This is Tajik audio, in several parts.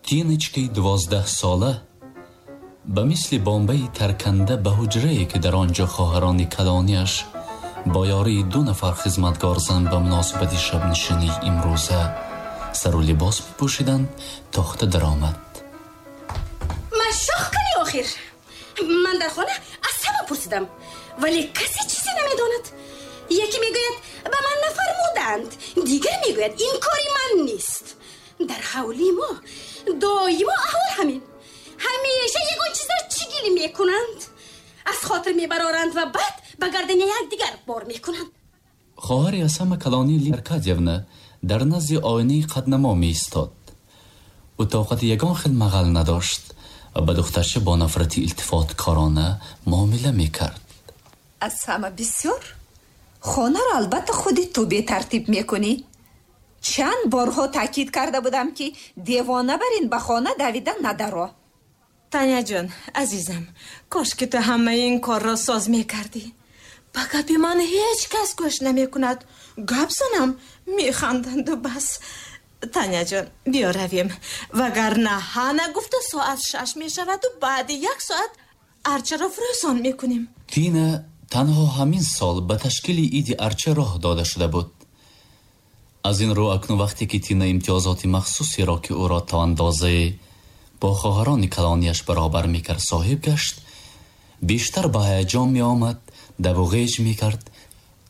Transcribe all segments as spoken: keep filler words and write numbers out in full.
Тиночкаи дувоздаҳсола ба мисли бомбаи тарканда ба ҳуҷрае, ки дар он ҷо хоҳарони калониаш бо ёрии ду нафар хизматгор зан ба муносибати шабнишинии имрӯза сару либос мепӯшиданд, тохта даромад. Машоқ кунӣ охир! Ман дар хона аз ҳама пурсидам, вале касе чизе намедонад. Яке мегӯяд, ба ман нафармуданд, дигар мегӯяд, ин кори ман нест. Дар ҳавлии мо доимо аҳвол ҳамин. Ҳамеша ягон чизро чигилӣ мекунанд, аз хотир мебароранд ва баъд ба гардани якдигар бор мекунанд. Хоҳари аз ҳама калонӣ Лидия Аркадьевна дар назди оинаи қаднамо меистод. Ӯ тоқати ягон хел мағал надошт ва ба духтарча бо нафрати илтифоткорона муомила мекард. Аз ҳама бисёр хонаро албатта худи ту бетартиб мекунӣ. Чанд борҳо таъкид карда будам, ки девона бар ин ба хона давида надаро. Таняҷон, азизам, кош ки ту ҳамаи ин корро соз мекардӣ. Ба гапи ман ҳеҷ кас гӯш намекунад. Гап занам, механданду бас. Таняҷон, биё равем, вагарна ҳа нагуфта соат шаш мешаваду баъди як соат арчаро фурӯзон мекунем. Тина танҳо ҳамин сол ба ташкили иди арча роҳ дода шуда буд. Аз ин рӯ акнун вақте ки Тина имтиёзоти махсусеро, ки ӯро то андозае бо хоҳарони калонияш баробар мекард, соҳиб гашт, бештар ба ҳаяҷон меомад, даву ғеҷ мекард,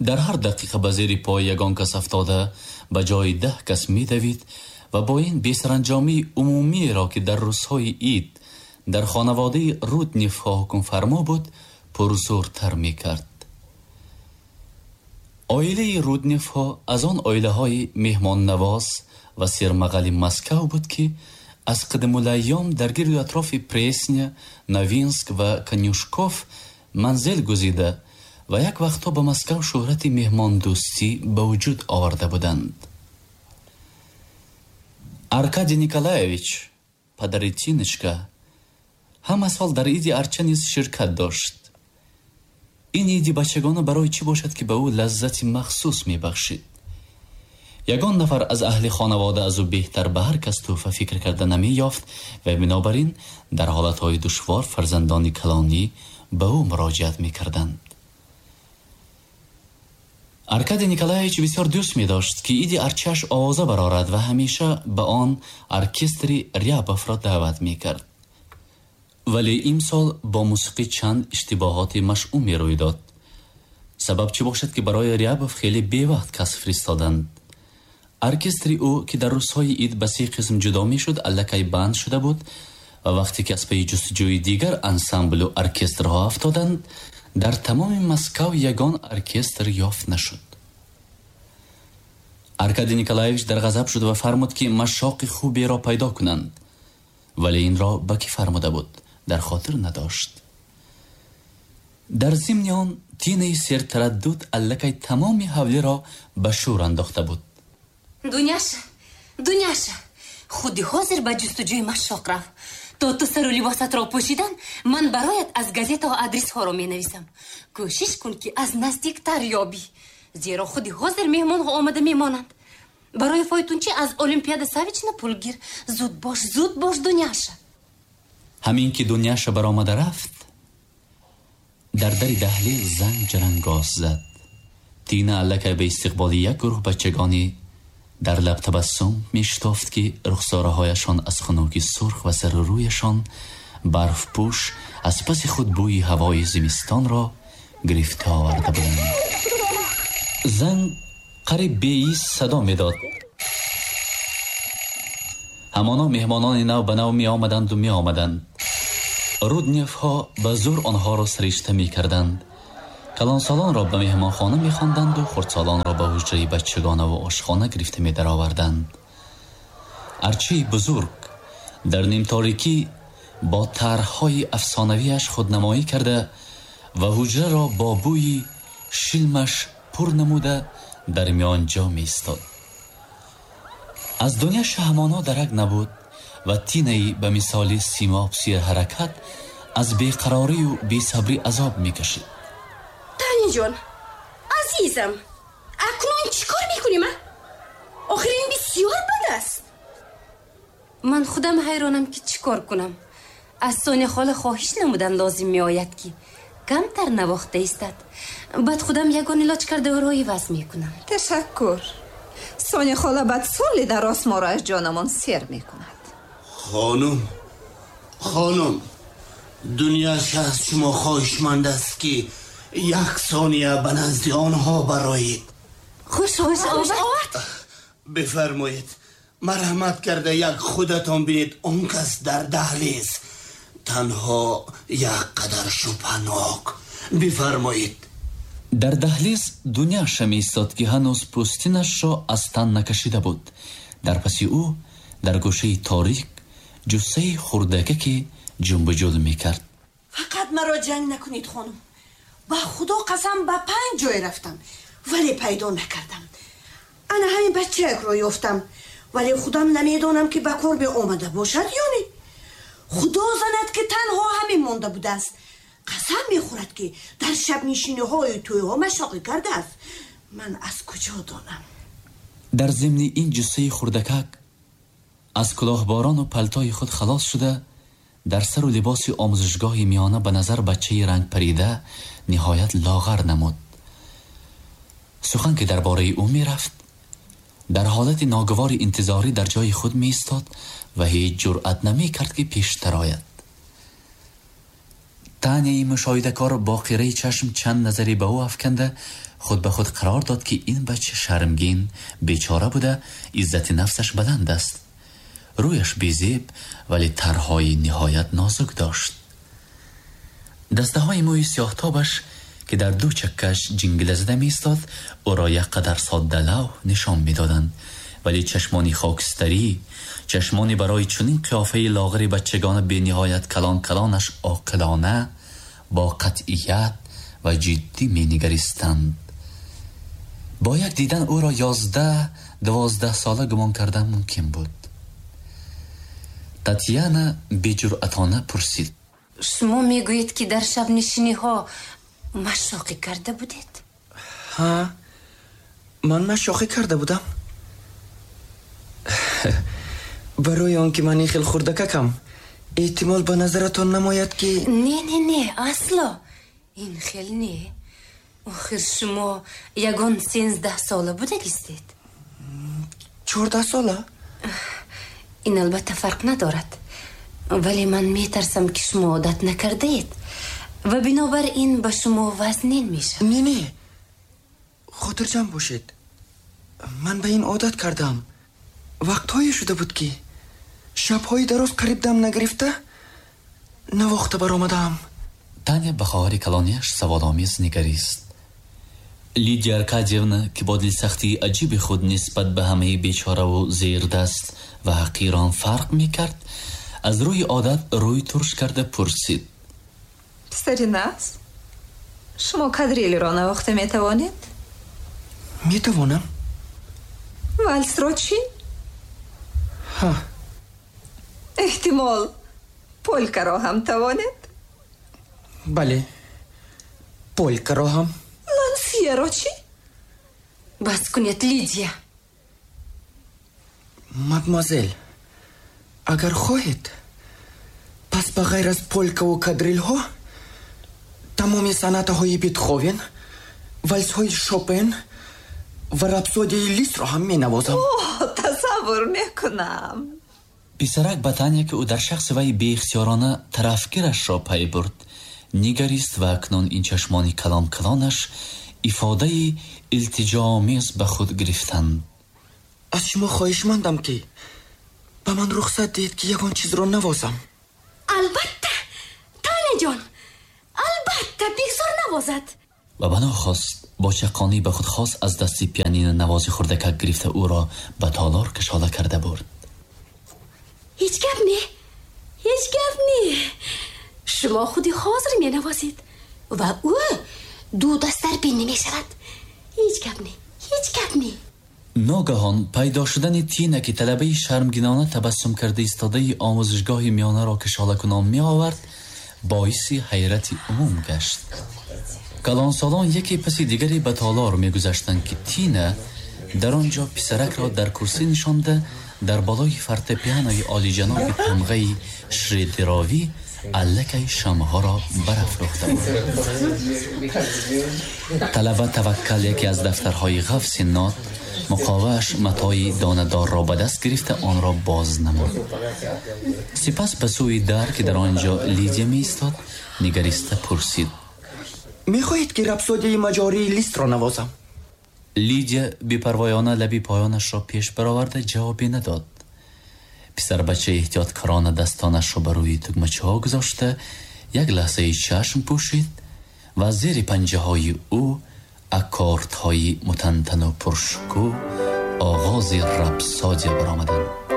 дар ҳар дақиқа ба зери пои ягон кас афтода ба ҷои даҳ кас медавид ва бо ин бесаранҷомии умумиеро, ки дар рӯзҳои ид дар хонаводаи Рудневҳо ҳукмфармо буд, пурзӯртар мекард. Оилаи Рудневҳо аз он оилаҳои меҳмоннавоз ва сермағали Москав буд, ки аз қадимулайём дар гирду атрофи Пресня, Новинск ва Конюшков манзил гузида ва як вақтҳо ба Москав шӯҳрати меҳмондӯстӣ ба вуҷуд оварда буданд. Аркадий Николаевич, падари Тиночка, ҳама сол дар иди арча низ ширкат дошт. Ин иди бачагона барои чӣ бошад, ки ба ӯ лаззати махсус мебахшид? Ягон нафар аз аҳли хонавода аз ӯ беҳтар ба ҳар кас тӯҳфа фикр карда намеёфт ва бинобар ин дар ҳолатҳои душвор фарзандони калонӣ ба ӯ муроҷиат мекарданд. Аркадий Николаевич бисёр дӯст медошт, ки иди арчааш овоза барорад ва ҳамеша ба он оркестри Рябовро даъват мекард. Вале имсол бо мусиқӣ чанд иштибоҳоти машъуме рӯй дод. Сабаб чӣ бошад, ки барои Рябов хеле бевақт кас фиристоданд. Оркестри ӯ, ки дар рӯзҳои ид ба се қисм ҷудо мешуд, аллакай банд шуда буд ва вақте ки аз пайи ҷустуҷӯи дигар ансамблу оркестрҳо афтоданд, дар тамоми Москав ягон оркестр ёфт нашуд. Аркадий Николаевич дар ғазаб шуд ва фармуд, ки машоқи хуберо пайдо кунанд, вале инро ба кӣ фармуда буд, дар хотир надошт. Дар зимни он Тинаи сертараддуд аллакай тамоми ҳавлиро ба шӯр андохта буд. Дуняша, Дуняша, худи ҳозир ба ҷустуҷӯи машоқ рав. То ту сару либосатро пӯшидан, ман бароят аз газетаҳо адресҳоро менависам. Кӯшиш кун, ки аз наздиктар ёбӣ, зеро худи ҳозир меҳмонҳо омада мемонанд. Барои фойтунчӣ аз Олимпиада Савична пул гир. Зуд бош, зуд бош, Дуняша. Ҳамин ки Дуняша баромада рафт, дар дари даҳлез занг ҷарангоз зад. Тина аллакай ба истиқболи як гурӯҳ бачагони дар лаб табассум мешитофт, ки рухсораҳояшон аз хунуки сурх ва сару рӯяшон барфпӯш аз паси худ бӯи ҳавои зимистонро гирифта оварда буданд. Занг қариб беиз садо медод. Ҳамоно меҳмонони нав ба нав меомаданду меомаданд. Рудневҳо ба зӯр онҳоро саришта мекарданд. Калонсолонро ба меҳмонхона мехонданду хурдсолонро ба ҳуҷраи бачагонаву ошхона гирифта медароварданд. Арчаи бузург дар нимторикӣ бо тарҳҳои афсонавиаш худнамоӣ карда ва ҳуҷраро бо бӯи шилмаш пур намуда дар миёнҷо меистод. Аз Дуняша ҳамоно дарак набуд ва Тинаи ба мисоли симоб серҳаракат аз беқарорию бесабрӣ азоб мекашид. Таняҷон, азизам, акнун чӣ кор мекунем, а? Охир ин бисёр бад аст. Ман худам ҳайронам, ки чӣ кор кунам. Аз Соня хола хоҳиш намудан лозим меояд, ки камтар навохта истад. Баъд худам ягон илоҷ карда ӯро иваз мекунам. Ташаккур. Соня хола баъд соли дароз моро аз ҷонамон сер мекунад. Хонум, хонум, Дуняша аз шумо хоҳишманд аст, ки як сония ба назди онҳо бароед. Хуш овард. Бифармоед, марҳамат карда як худатон бинед, он кас дар даҳлиз танҳо як қадар шубҳанок. Бифармоед. Дар даҳлиз Дуняша меистод, ки ҳанӯз пӯстинашро аз тан накашида буд. Дар паси ӯ дар гӯшаи торик ҷуссаи хурдакаке ҷунбуҷул мекард. Фақат маро ҷанг накунед, хонум. Ба худо қасам, ба панҷ ҷой рафтам, вале пайдо накардам. Ана ҳамин бачаякро ёфтам, вале худам намедонам, ки ба кор меомада бошад ё не. Худо занад, ки танҳо ҳамин монда будааст. Қасам мехӯрад, ки дар шабнишиниҳои тӯйҳо машоқӣ кардааст. Ман аз куҷо донам? Дар зимни ин ҷуссаи хурдакак аз кулоҳборону палтои худ халос шуда, дар сару либоси омӯзишгоҳи миёна ба назар бачаи рангпарида ниҳоят лоғар намуд. Сухан ки дар бораи ӯ мерафт, дар ҳолати ногувори интизорӣ дар ҷои худ меистод ва ҳеҷ ҷуръат намекард, ки пештар ояд. Таняи мушоҳидакор бо қираи чашм чанд назаре ба ӯ афканда, худ ба худ қарор дод, ки ин бача шармгин, бечора буда, иззати нафсаш баланд аст. Рӯяш безеб, вале тарҳҳои ниҳоят нозук дошт. Дастаҳои мӯи сиёҳтобаш, ки дар ду чаккаш ҷингила зада меистод, ӯро як қадар соддалавҳ нишон медоданд, вале чашмони хокистарӣ, чашмони барои чунин қиёфаи лоғари бачагона бениҳоят калон калонаш оқилона, бо қатъият ва ҷиддӣ менигаристанд. Бо як дидан ӯро ёздаҳ дувоздаҳ сола гумон кардан мумкин буд. Татьяна беҷуръатона пурсид: Шумо мегӯед, ки дар шабнишиниҳо машоқӣ карда будед? Ҳа, ман машоқӣ карда будам. Барои он ки ман ин хел хурдакакам, эҳтимол ба назаратон намояд, ки не, не, не, асло ин хел не. Охир шумо ягон сенздаҳ сола будагистед. Чордаҳ сола? Ин албатта фарқ надорад, вале ман метарсам, ки шумо одат накардаед ва бинобар ин ба шумо вазнин мешавад. Не, не, хотирҷамъ бошед, ман ба ин одат кардам. Вақтҳое шуда буд, ки шабҳои дароз қариб дам нагирифта навохта баромадаам. Таня ба хоҳари калонияш саволомез нигарист. Лидия Аркадьевна, ки бо дилсахтии аҷиби худ нисбат ба ҳамаи бечораву зердаст ва ҳақирон фарқ мекард, аз рӯи одат рӯй турш карда пурсид: Писари нағз, шумо кадрилро навохта метавонед? Метавонам. Валсро чӣ? Ҳа. Эҳтимол полькаро ҳам тавонед? Бале, полькаро ҳам. Лансьеро чӣ? Бас кунед, Лидия. Мадмуазел, агар хоҳед, пас ба ғайр аз полькаву кадрилҳо тамоми санъатаҳои Бетховен, валсҳои Шопен ва рапсодияи Лисро ҳам менавозам. О, тасаввур мекунам. Писарак ба Таня, ки ӯ дар шахси вай беихтиёрона тарафгирашро пай бурд, нигарист ва акнун ин чашмони калон калонаш ифодаи илтиҷоомез ба худ гирифтанд. Аз шумо хоҳишмандам, ки ба ман рухсат диҳед, ки ягон чизро навозам. Албатта, Таняҷон, албатта, бигзор навозад. Ва бано хост бо чаққонӣ ба худ хос аз дасти пианино навози хурдакак гирифта ӯро ба толор кашола карда бурд. Ҳеҷ гап не, ҳеҷ гап не. Шумо худи ҳозир менавозед ва ӯ ду даст дар бин намешавад. Ҳеҷ гап не, ҳеҷ гап не. Ногаҳон пайдо шудани Тина, ки талабаи шармгинона табассум карда истодаи омӯзишгоҳи миёнаро кашолакунон меовард, боиси ҳайрати умум гашт. Калонсолон яке паси дигаре ба толор мегузаштанд, ки Тина дар он ҷо писаракро дар курсӣ нишонда Дар болои фортепианои олиҷаноби тамғаи Шредеровӣ аллакай шамъҳоро барафрӯхта буд. Талаба таваккал яке аз дафтарҳои ғафси нот, муқовааш матои донадорро ба даст гирифта, онро боз намуд. Сипас ба сӯи дар, ки дар он ҷо Лидия меистод, нигариста пурсид: Мехоҳед, ки рапсодияи маҷории Листро навозам? Лидия бепарвоёна лаби поёнашро пеш бароварда ҷавобе надод. Писарбача эҳтиёткорона дастонашро ба рӯи тугмачаҳо гузошта, як лаҳзаи чашм пӯшид ва аз зери панҷаҳои ӯ аккордҳои мутантану пуршукӯҳ оғози рапсодия баромаданд.